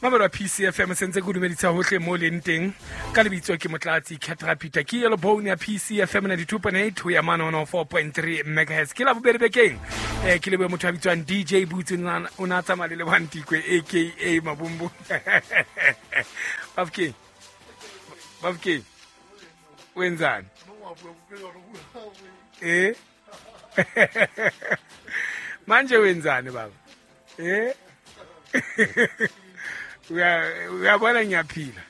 Mabelo a PCFM sentse ke dumedisa hohle mo leng teng ka lebitso ke Motlatsi Ketra Peter ke yellow bone ya PCFM 92.8 ho ya mane 104.3 megahertz ke la bobedi bekeng ke lebohe motho a bitswang DJ Boots o na tsamaya le Lebohang Tikwe aka Mabumbu Bafkeng Bafkeng o entsane eh manje wenzani baba eh uyabona ngiyaphila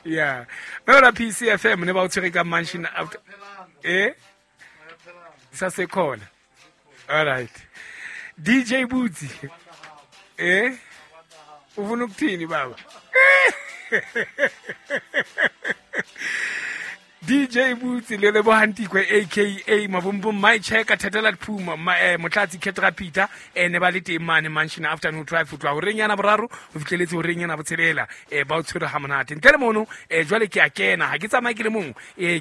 yeah mebela PCFM ne ba o tshwere ka mansion after eh sasekhona all right DJ Bootsy eh ufuna ukuthini baba DJ Bootsy le Lebohang Tikwe aka Mabumbum my checker Thetela Phuma Motlatsi Ketra Peter ne ba le teng mane Mansion Afternoon Drive ho tloha horeng yana boraro ho fihleletse horeng yana botshelela ba o tshwere ha monate ntle le mono jwale ke a kena ha ke tsamaye ke le mong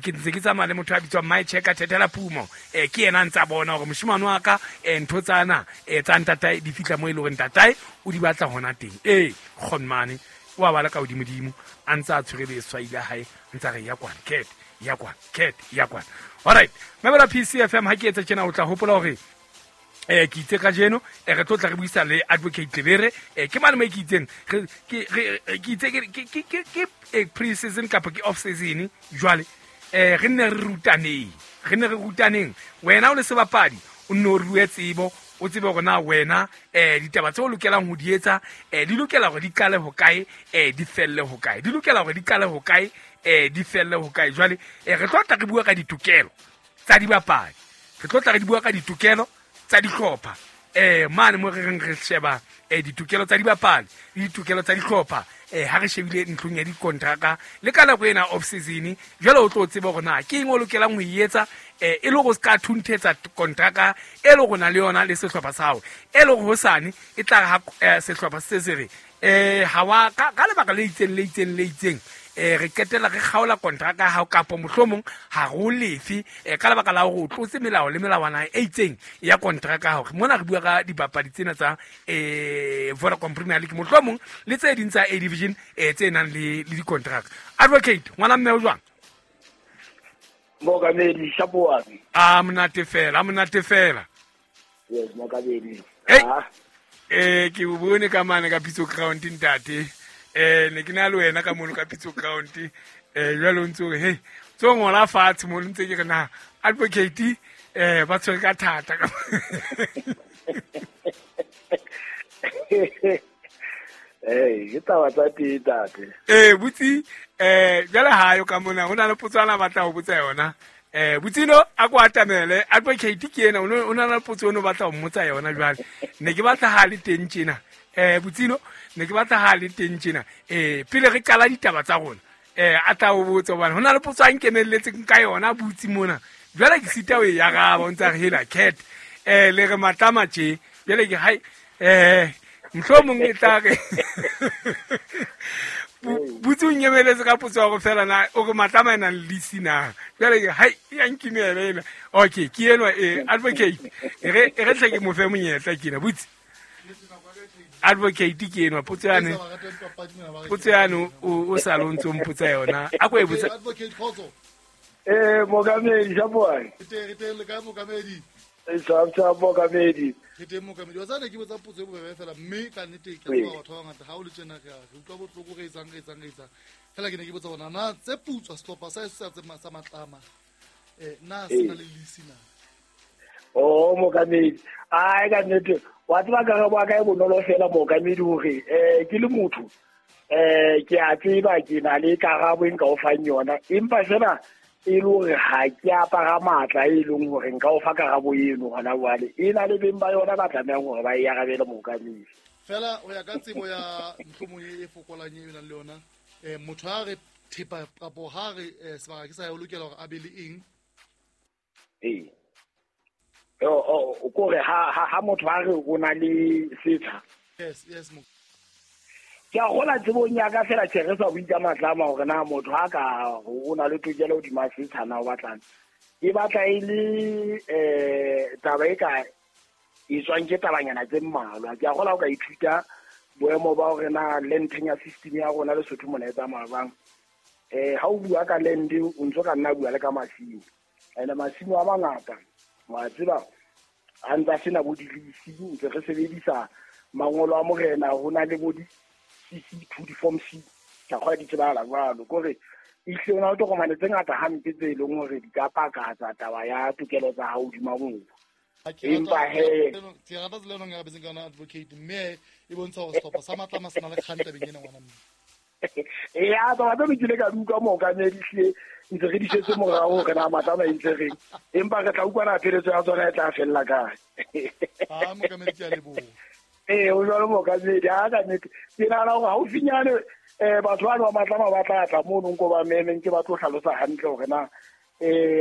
ke ntse ke tsamaya le motho a bitswang my checker Thetela Phumo ke yena a ntsa bona hore moshemane wa ka ntho tsana tsa ntatae di fihla mo e leng hore ntatae o di batla hona teng kgonmane wa bala ka hodimodimo a ntse a tshwere leswai la hae ntse a re ya kwana cat ya kwana cat ya kwana alright mebela PCFM ha ke etsa tjena o tla hopola hore ke itse kajeno re tlo tla re buisa le advocate Tlebere ke mane mo ke itseng ke itse ke pre season kapa ke off season jwale re nne re rutaneng wena o le sebapadi o nne o rue tsebo o tsebe hore na wena ditaba tse o lokelang ho di etsa di lokela hore di qale ho kae di felle ho kae di lokela hore di qale ho kae di felle ho kae jwale re tlo tla re bua ka ditokelo tsa dibapadi re tlo tla re di bua ka ditokelo tsa dihlopha mane mo re reng re sheba ditokelo tsa dibapadi le ditokelo tsa dihlopha ha re shebile ntlong ya dikontraka le ka nako ena off season jwale o tlo tseba hore na ke eng o lokelang ho e etsa e le hore o ska thunthetsa kontraka e le hore na le yona le sehlopha sa hao e le hore hosane e tla ha sehlopha se se re ha wa ka lebaka le itseng le itseng le itseng re qetella re kgaola kontraka ya hao kapo mohlomong ha re o lefe ka lebaka la hore o tlotse melao le melawana e itseng ya kontraka ya hao. Mona re bua ka dibapadi tsena tsa Vodacom Premier League mohlomong le tse ding tsa A Division tse nang le dikontraka. Advocate ngwana mme o jwang? Mokamedi Shapoane. A monate fela, a monate fela. Yes, mokamedi. Ke o bone ka mane ka Pitso Ground ntate. Ne ke na le wena ka mono ka Pitso Ground. Jwale o ntse o re hey, tso ngola fatshe mo ntse ke re na advocate ba tshwere ka thata. Ke taba tsa teng ntate. Butsi jwale ha yo ka mona ho na le potso ana batla ho botsa yona. Butsino a ko atamele advocate ke ena o na le potso ono batla ho mmotsa yona jwale. Ne ke batla ha le teng tjena. Butsino ne ke batla ha le teng tjena. Pele re qala ditaba tsa rona. A tla o botsa hobane ho na le potso a nkenelletseng ka yona butsi mona. Jwale ke sita o e araba o ntsa re hela cat. Le re matlama tje. Jwale ke hai mohlomong e tla re butsi o nyemeletse ka potso ya go fela na o re matlama e nang le lease na jwale ke hai ya nkimela ena. Okay ke enwa advocate e re tle ke mo fe monyetla ke ena butsi advocate ke enwa potso yane o sa le o ntso mpotsa yona a ko e botsa. Advocate Khotso. Mokamedi Shapoane. Re teng le kae mokamedi? Sa mokamedi. Re teng mokamedi. Wa tsane ke botsa potso e bobebe fela mme ka nnete ke tloha batho ba bangata ha o le tjena re utlwa bohloko re etsang. Fela ke ne ke botsa bona na tse putswa sehlopha sa sa matlama na se na le lease na? Oh mokamedi. Ai ka nnete wa tseba karabo ya ka e bonolo fela mokamedi hore ke le motho ke a tseba ke na le karabo e nka o fang yona empa fela e le hore ha ke apara matla e leng hore nka o fa karabo eno hona jwale e na le beng ba yona ba tlamehang hore ba e arabele mokamedi. Fela o ya ka tsebo ya mohlomong e fokolang e nang le yona motho ha re thepa kapo ha re sebaka ke sa ya o lokela hore a be le eng? O kore ha motho ha re o na le setsha. Yes Ke a gola tsebong ya ka fela tjhe re sa bue ka matlama hore na motho ha ka o na le tokelo hodima setsha na o batlang. E batla e le taba e ka e tswang ke tabanyana tse mmalwa. Ke a gola o ka ithuta boemo ba hore na land tenure system ya rona Lesotho mona e tsamaya jwang. Ha o bua ka land o ntso ka nna bua le ka masimo. Ene masimo a mangata wa tseba a ntsa sena bo dilisi, ntse re sebedisa mangolo a morena, ho na le bo di CC2 di form C ka kgwa di tsebahala jwalo. Kore ehlile ho na le tokomane tse ngata hampe tse leng hore di ka pakatsa taba ya tokelo tsa hao hodima mobu. Empa he ke rata tsela eno ya betseng ka yona advocate, mme e bontsha hore sehlopha sa Matlama se na le kgang tabeng ena ngwana mme. Ya taba tse ke ile ka di utlwa mookamedi hlile ntse re di setse morao hore na Matlama e ntse reng, empa re tla utlwa na pheletso ya tsona e tla fella kae. Ha mookamedi ke a leboha. Ee, o jwalo mookamedi, ha ka nnete ke nahana hore haufinyane batho bano ba Matlama ba tla tla mono nko ba memeng ke ba tlo hlalosa hantle hore na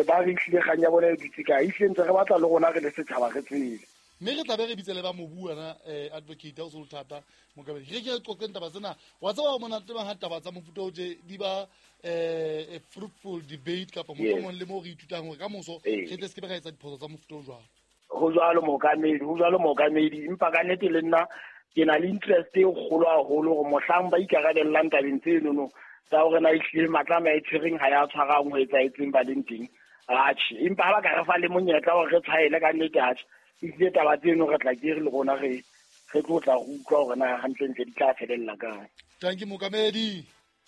ba re hlile kgang ya bona e dutse kae. Ehlile ntse re batla le rona re le setjhaba re tsebe. Mme re tla be re bitse le ba mobu wena advocate ha o se o thata mookamedi. Re ke re qoqeng taba tsena. Wa tseba monate bang ha taba tsa mofuta o tje di ba a fruitful debate kapa mohlomong le moo re ithutang hore ka moso re tle se ke be ra etsa diphoso tsa mofuta o jwalo. Ho jwalo mookamedi, ho jwalo mookamedi. Empa ka nnete le nna ke na le interest e kgolo haholo hore mohlang ba ikarabellang tabeng tsenono tsa hore na ehlile Matlama e tshwereng ha ya tshwarang ho etsahetseng ba leng teng. Atjhe, empa ha ba ka re fa le monyetla hore re tshwaele ka nnete, atjhe, ehlile taba tseno re tla ke re le rona re tlo tla re utlwa hore na hantlentle di tla felella kae. Tanki mookamedi.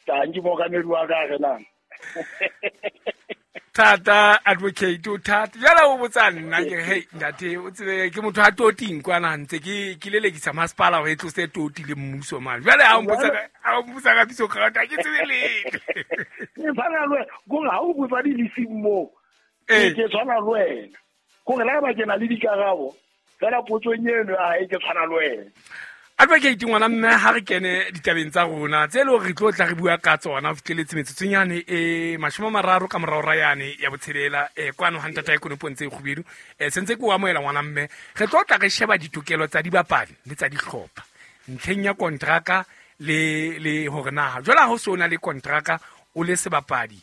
Tanki mookamedi wa ka re na. Thata advocate o thata. Jwale o botsa nna ke re, hey ntate, o tsebe ke motho a toting kwana ntse ke lelekisa masepala hore e tlose toti le mmuso mane. Jwale ha o mpotsa ka piso crowd, ha ke tsebe letho. Ke tshwana le wena, kore ha o botsa di-leasing moo, ke tshwana le wena. Kore le ha eba ke na le dikarabo, fela potsong eno ya hae ke tshwana le wena. Advocate ngwana mme ha re kene ditabeng tsa rona tse leng hore re tlo tla re bua ka tsona ho fihleletse metsotsonyane e 30 ka morao ra yane ya botshelela, kwano ha ntata e konopong tse kgubedu. Sentse ke o amohela ngwana mme re tlo tla re sheba ditokelo tsa dibapadi le tsa dihlopha ntlheng ya kontraka le hore na jwale ha ho so na le kontraka o le sebapadi,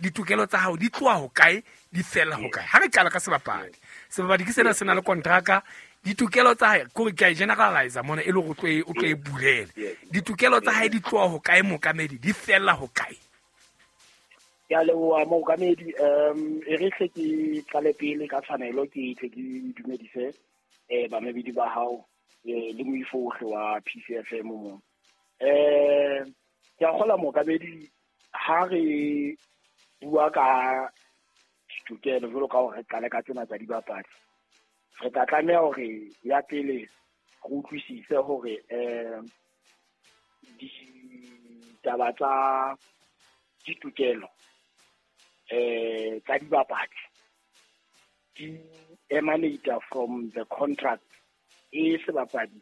ditokelo tsa hao di tloha ho kae, di fella ho kae. Ha re qala ka sebapadi, sebapadi ke sena se na le kontraka, ditokelo tsa hae kore ke a generalize mona e le hore o tlo e bulele. Ditokelo tsa hae di tloha ho kae mookamedi, di fella ho kae? Ke a leboha mookamedi. E re hle ke qale pele ka tshwanelo, ke tle ke dumedise bamamedi ba hao le moifo ohle wa PCFM mo. Ke a kgolwa mookamedi ha re bua ka ditokelo jwalo ka hore re qale ka tsena tsa dibapadi, re tla tlameha hore ya pele re utlwisise hore ditaba tsa ditokelo tsa dibapadi di emanate from the contract e sebapadi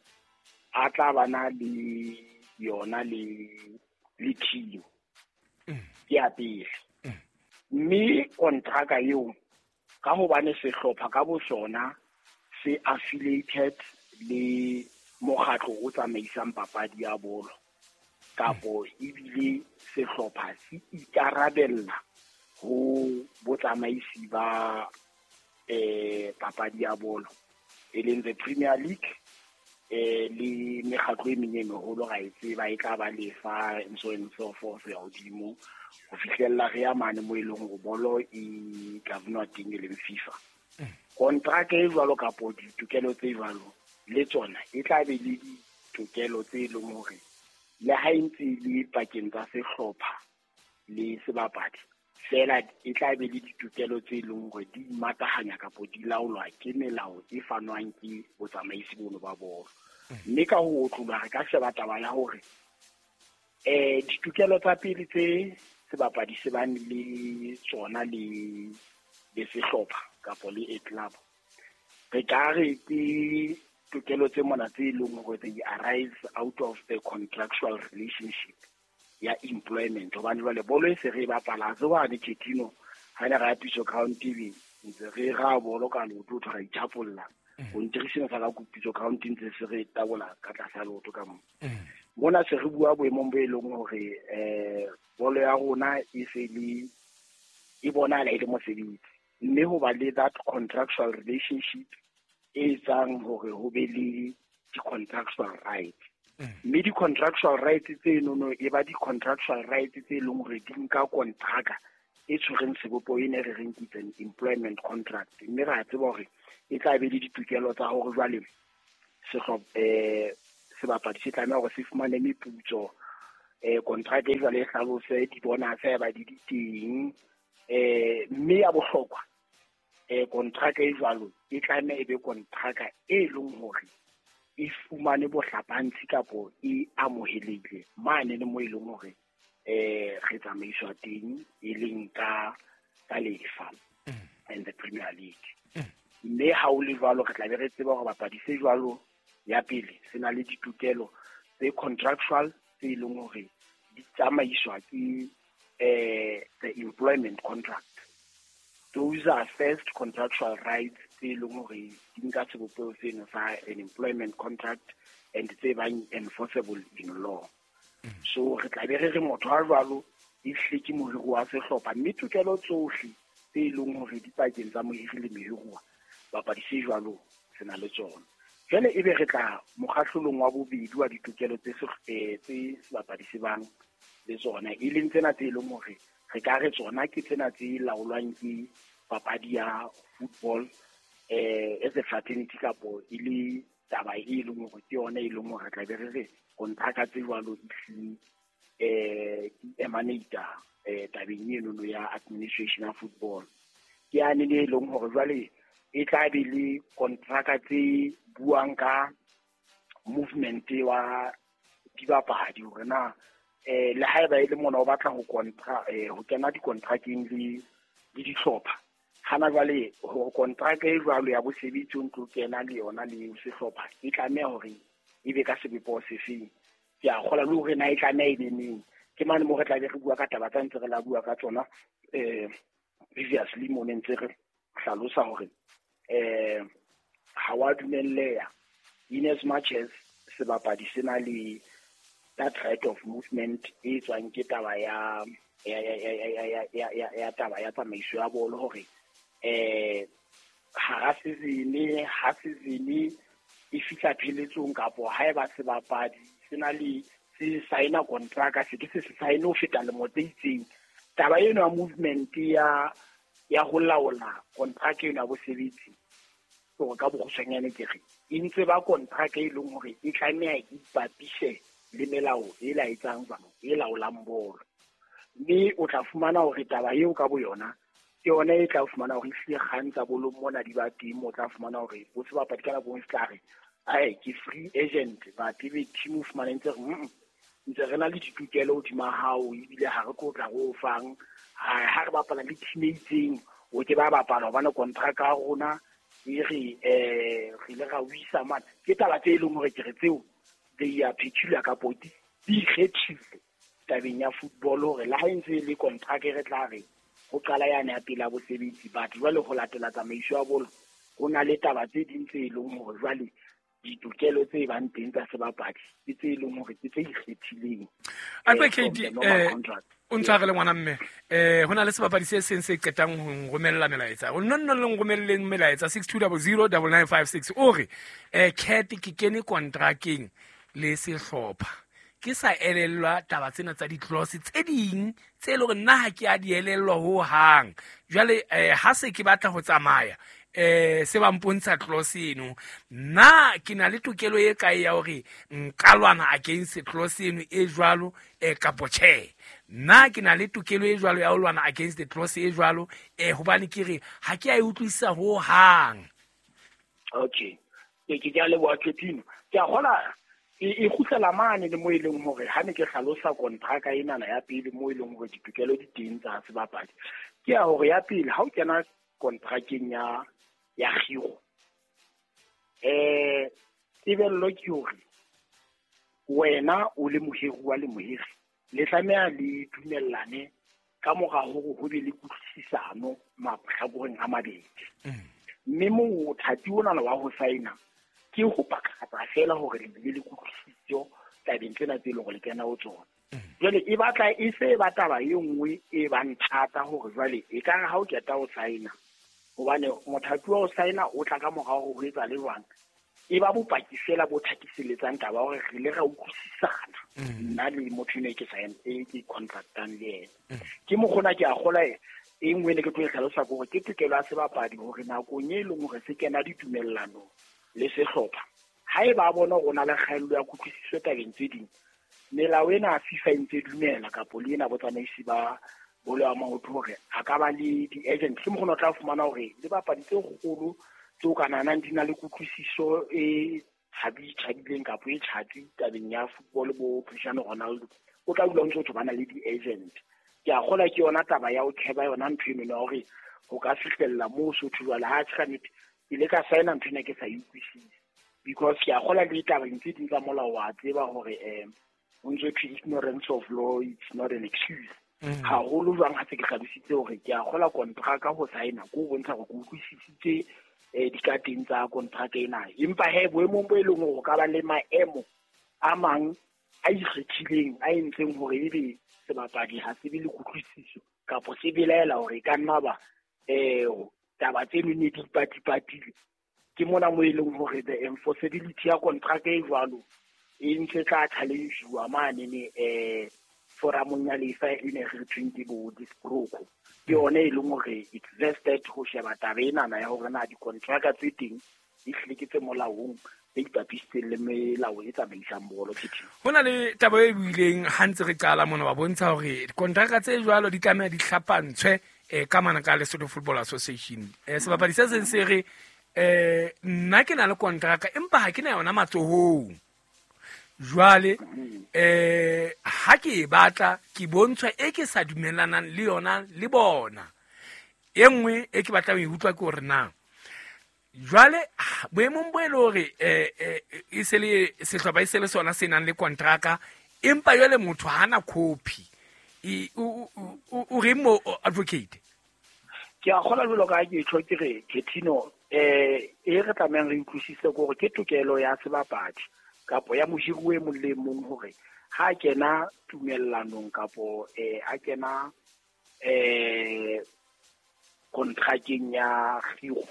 a tla bana le yona le team. Ke ya pele. Mme kontraka eo ka hobane sehlopha ka bo sona se affiliated le mokgatlo o tsamaisang papadi ya bolo, kapo ebile sehlopha se ikarabella ho botsamaisi ba papadi ya bolo e leng the Premier League, le mekgatlo e meng e meholo ra e tseba e tla ba lefa and so and so forth ya hodimo ho fihlella re ya mane mo e leng hore bolo e governwa teng e leng FIFA. Kontraka e jwalo kapo ditokelo tse jwalo le tsona e tla be le ditokelo tse leng hore le ha e ntse e le pakeng tsa sehlopha le sebapadi fela e tla be le ditokelo tse leng hore di matahanya kapo di laolwa ke melao e fanwang ke botsamaisi bono ba bolo. Mme ka ho otloloha re ka sheba taba ya hore ditokelo tsa pele tse sebapadi se bang le tsona le sehlopha kapo le a club, re ka re ke tokelo tse mona tse leng hore they arise out of the contractual relationship ya employment. Hobane jwale bolo e se re e bapala, ha se hwane Ketino ha ne re ya Pitso Ground TV ntse re ra bolo ka leoto, ra ithapolla. Ho ntirisena sa ka Pitso Ground ntse se re tabola ka tlasa leoto ka mo. Mona se re bua boemong bo e leng hore bolo ya rona e se le e bonahala e le mosebetsi, mme ho ba le that contractual relationship e etsang hore ho be le di-contractual rights. Mme di-contractual rights tsenono e ba di-contractual rights tse leng hore di nka kontraka e tshwereng sebopeho e ne re reng ke an employment contract. Mme re a tseba hore e tla be le ditokelo tsa hore jwale sebapadi se tlameha hore se fumane meputso, contract e jwale e hlalose di-bonus haeba di di teng, mme ya bohlokwa contract e jwalo e tlameha e be kontraka e leng hore e fumane bohlapantshi kapo e amohelehile mane le mo e leng hore re tsamaiswa teng, e leng ka lefa and the Premier League. Mme ha o le jwalo re tla be re tseba hore bapadi se jwalo ya pele se na le ditokelo tse contractual tse leng hore di tsamaiswa ke the employment contract. Those are first contractual rights tse leng hore di nka sebopeho seno sa an employment contract and tse bang enforceable in law. So re tla be re re motho a jwalo e hle ke mohiri wa sehlopha, mme tokelo tsohle tse leng hore di pakeng tsa mohiri le mohiruwa bapadi se jwalo se na le tsona. Jwale ebe re tla mokgahlelong wa bobedi wa ditokelo tse sebapadi se bang le tsona, e leng tsena tse leng hore re ka re tsona ke tsena tse laolwang ke papadi ya football as a fraternity kapo e le taba e leng hore ke yona e leng hore re tla be re re kontraka tse jwalo ehlile di emanate tabeng enono ya administration ya football. Ke yane le e leng hore jwale e tla be le kontraka tse buang ka movement wa dibapadi hore na le haeba e le mona o batla ho ho kena dikontrakeng le dihlopha. Hana jwale hore kontraka e jwalo ya bosebetsi o ntlo kena le yona le sehlopha e tlameha hore e be ka sebopeho sefeng. Ke a kgola le hore na e tlameha e be neng. Ke mane mo re tla be re bua ka taba tsa ntse re la bua ka tsona previously mo ne ntse re hlalosa hore ha wa dumelleha in as much as sebapadi se na le that right of movement e tswang ke taba ya taba ya tsamaiso ya bolo hore hara season ha season e fihla pheletsong kapo haeba sebapadi se na le se signa contract se ke se sign ho feta lemo tse itseng, taba eno ya movement ya ho laola contract eno ya bosebetsi hore ka bokgutshwanyane ke re e ntse ba contract e leng hore e tlameha e ipapise le melao e laetsang jwang e laolang bolo. Mme o tla fumana hore taba eo ka boyona ke yona e tla fumana hore ehlile kgang tsa bolo mona di ba teng, o tla fumana hore bo sebapadi ka nako e nngwe se tla re ae ke free agent, but ebe team o fumana ntse re ntse re na le ditokelo hodima hao ebile ha re tlo tla re o fang ha re bapala le team e itseng o ke ba bapala hobane contract ya rona e re re ile ra wisa mane. Ke taba tse leng hore ke re tseo they are peculiar kapo di ikgethile tabeng ya football hore le ha e ntse e le contract re tla re ho qala yane ya pele ya bosebetsi, but jwale ho latela tsamaiso ya bolo ho na le taba tse ding tse leng hore jwale ditokelo tse bang teng tsa sebapadi ke tse leng hore ke tse ikgethileng. Ape Kate o ntshwarele ngwana mme ho na le sebapadi se seng se qetang ho nromella melaetsa. O nno le nromelleng melaetsa 62009956 o re Cat ke kene kontrakeng le sehlopha ke sa elellwa taba tsena tsa di-clause tse ding tse leng hore nna ha ke a di elellwa ho hang. Jwale ha se ke batla ho tsamaya se ba mpontsha clause eno, nna ke na le tokelo e kae ya hore nka lwana against clause eno e jwalo kapo tjhe? Nna ke na le tokelo e jwalo ya ho lwana against the clause e jwalo hobane ke re ha ke a e utlwisisa ho hang. Okay, ke a leboha Ketino. Ke a kgola e kgutlela mane le mo e leng hore ha ne ke hlalosa kontraka enana ya pele mo e leng hore ditokelo di teng tsa sebapadi. Ke ya hore ya pele ha o kena kontrakeng ya kgiro tebello ke hore wena o le mohiruwa le mohiri le tlameha le dumellane ka mora hore ho be le kutlwisisano mahlakoreng a mabedi. Mme mothati onana wa ho saena ke ho pakatsa fela hore le bile le kutlwisiso tabeng tsena tse leng hore le kena ho tsona. Jwale e batla e se ba taba e nngwe e bang thata hore jwale e ka re ha o qeta ho saena, hobane mothati wa ho saena o tla ka mora hore ho etsa le jwang E ba bopaki fela bo thakiselletsang taba hore re ile ra utlwisisana nna le motho eno e ke sign e ke contractang le ena. Ke mokgona ke a kgola e nngwe ne ke tlo e hlalosa ke hore ke tokelo ya sebapadi hore nakong e leng hore se kena ditumellanong le sehlopha, haeba a bona hore o na le kgaello ya kutlwisiso tabeng tse ding, melao ena ya FIFA e ntse dumela kapo le ena botsamaisi ba bolo ya maoto hore a ka ba le di-agent. Ke mokgona o tla fumana hore le bapadi tse kgolo tseo ka nahanang di na le kutlwisiso e tjhabileng kapo e tjhatsi tabeng ya football bo Cristiano Ronaldo, o tla dula o ntse o ba na le di-agent. Ke a kgolwa ke yona taba ya ho kheba yona ntho eno ya hore ho ka fihlella moo Sotho jwale ha tjhe ka nnete ke ile ka signa ntho ena ke sa e utlwisise, because ke a kgolwa le ditabeng tse ding tsa molao wa tseba hore o ntso thwe ignorance of law it's not an excuse. Haholo jwang ha se ke hlalositse hore ke a kgolwa kontraka ho signa ko ho bontsha hore ke utlwisisitse dikateng tsa kontraka ena. Empa he boemong bo e leng hore ho ka ba le maemo a mang a ikgethileng a entseng hore ebe sebapadi ha se be le kutlwisiso kapo se belaela hore e ka nna ba taba tseno ne di ipatipatile. Ke mona mo e leng hore the enforceability ya kontraka e jwalo e ntse tla challenge-uwa mane foramong ya lefa e ne re thweng ke bo disproko. Ke yone e leng hore it's vested ho sheba taba enana ya hore na dikontraka tse teng di hlile ke tse molaong tse ipapisitseng le melao e tsamaisang bolo. Ho na le taba e buileng ha ntse re qala mona ba bontsha hore dikontraka tse jwalo di tlameha di hlapantshwe ka mana ka Lesotho Football Association. Sebapadi se seng se re nna ke na le kontraka empa ha ke na yona matsohong. Jwale ha ke e batla ke bontshwa e ke sa dumellanang le yona le bona. E nngwe e ke batlang ho e utlwa ke hore na jwale boemong bo e le hore e se le sehlopha e se le sona se nang le kontraka, empa jwale motho ha na copy, o reng mo advocate? Ke a kgolwa jwalo ka ha ke tjho ke re Ketino e re tlamehang re utlwisise ke hore ke tokelo ya sebapadi kapo ya mohiri e mong le mong hore ha kena tumellanong kapo a kena kontrakeng ya kgiro,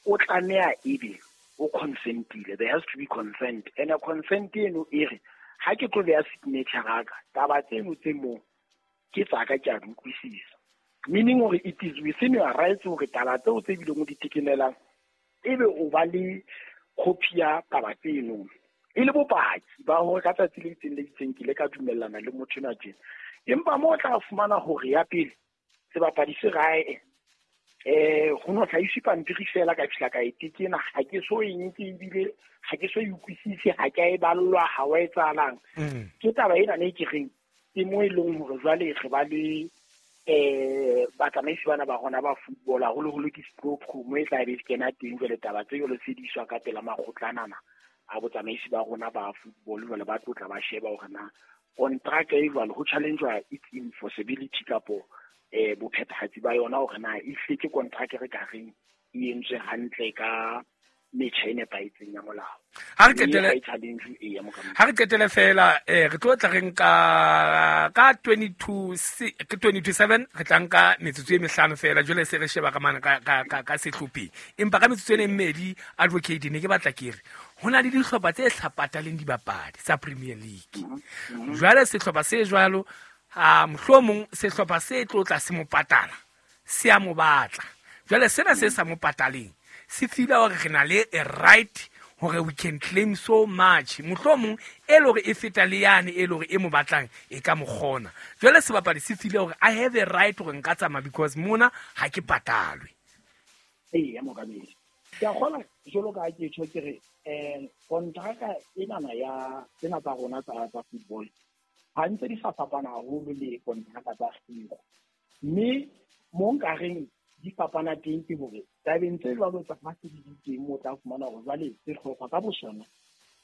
o tlameha ebe o consentile. There has to be consent, and a consent eno e re ha ke tlo beha signature ya ka, taba tseno tse moo ke tsa ka ke a di utlwisisa. Meaning hore it is within your rights hore taba tseo tse bileng o di tekenelang ebe o ba le copy ya taba tseno e le bopaki ba hore ka tsatsi le itseng le itseng ke ile ka dumellana le motho enwa tjena. Empa moo o tla fumana hore ya pele sebapadi se rae ho no hlahiswe pampiri fela ka fihla ka e tekena, ha ke so e nke ebile ha ke so e utlwisise, ha ke a e ballwa, ha wa etsahalang. Ke taba ena ne ke reng ke mo e leng hore jwale re ba le batsamaisi bana ba rona ba football haholoholo ke Sproco mo e tla be e kena teng jwale taba tse jwalo se di iswa ka pela makgotlanana a botsamaisi ba rona ba football jwale ba tlotla ba sheba hore na kontraka e jwalo ho challenge-wa its enforceability kapo bophethahatsi ba yona hore na e hlile ke kontraka re ka reng e entswe hantle ka metjha e nepahetseng ya molao. Ha re qetele fela re tlo tla re nka ka 22:7 re tla nka metsotso e mehlano fela jwale se re sheba ka mana ka sehlopheng. Empa ka metsotso e mmedi advocate ne ke batla ke re ho na le dihlopha tse hlapataleng dibapadi tsa Premier League. Jwale sehlopha se jwalo mohlomong sehlopha se tlo tla se mo patala se a mo batla. Jwale sena se sa mo pataleng se feel hore re na le a right hore we can claim so much, mohlomong e le hore e feta le yane e le hore e mo batlang e ka mo kgona. Jwale sebapadi se feel hore I have a right hore nka tsamaya because mona ha ke patalwe. Eya mokamedi, ke a kgolwa jwalo ka ha ke tjho ke re kontraka enana ya tsena tsa rona tsa football ha ntse di sa fapana haholo le kontraka tsa kgiro, mme mo nkareng di fapana teng ke hore tabeng tse jwalo tsa ha se di teng mo tla fumana hore jwale sehlopha ka bosona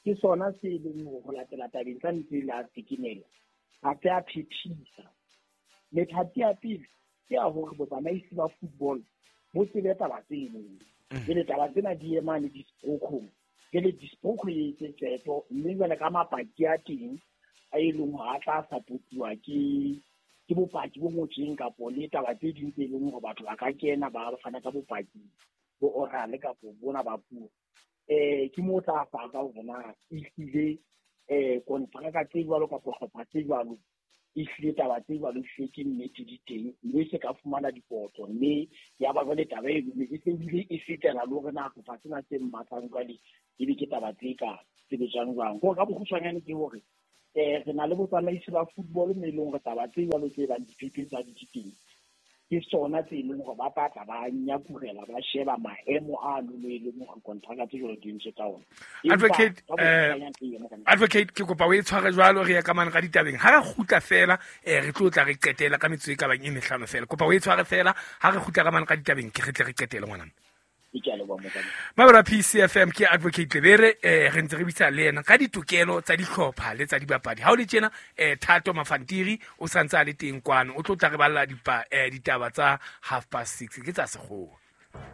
ke sona se leng hore ho latela tabeng tsa ntse la tekenelo ha se a phethisa. Methati ya pele ke ya hore botsamaisi ba football bo tsebe taba tseno, jwale taba tsena di emane disprokong, jwale disproko e etse qeto, mme jwale ka mapaki a teng a e leng hore a tla supportuwa ke bopaki bo ngotsweng kapo le taba tse ding tse leng hore batho ba ka kena ba fana ka bopaki bo oral kapo bona ba puo. Ke mo tla faka hore na ehlile kontraka tse jwalo kapa hlopha tse jwalo ehlile taba tse jwalo ehlile ke nnete di teng, mme se ka fumana dikotlo, mme ya ba jwale taba eno e se ebile e fetela le hore na hlopha tsena tse mmatlang jwale ebe ke taba tse ka sebetsang jwang. Hore ka bokgutshwanyane ke hore re na le botsamaisi ba football mme e leng hore taba tse jwalo tse bang diphephetso di teng ke sona tse leng hore ba tla ba nyakurela ba sheba maemo a no e leng hore kontraka tse jwalo di entswe ka ona. Advocate, advocate, ke kopa o e tshware jwalo, re ya ka mane ka ditabeng. Ha re kgutla fela, re tlo tla re qetela ka metsotso e ka bang e mehlano fela. Kopa o e tshware fela, ha re kgutla ka mane ka ditabeng, ke re tle re qetele ngwanana. Mabelo a PCFM ke Advocate Lebere, re ntse re bitsa le yena ka ditokelo tsa dihlopha le tsa dibapadi. Ha o le tjena, Thato Mafantiri o santse a le teng kwano, o tlo tla re balla ditaba tsa 6:30 ke tsa sekgowa.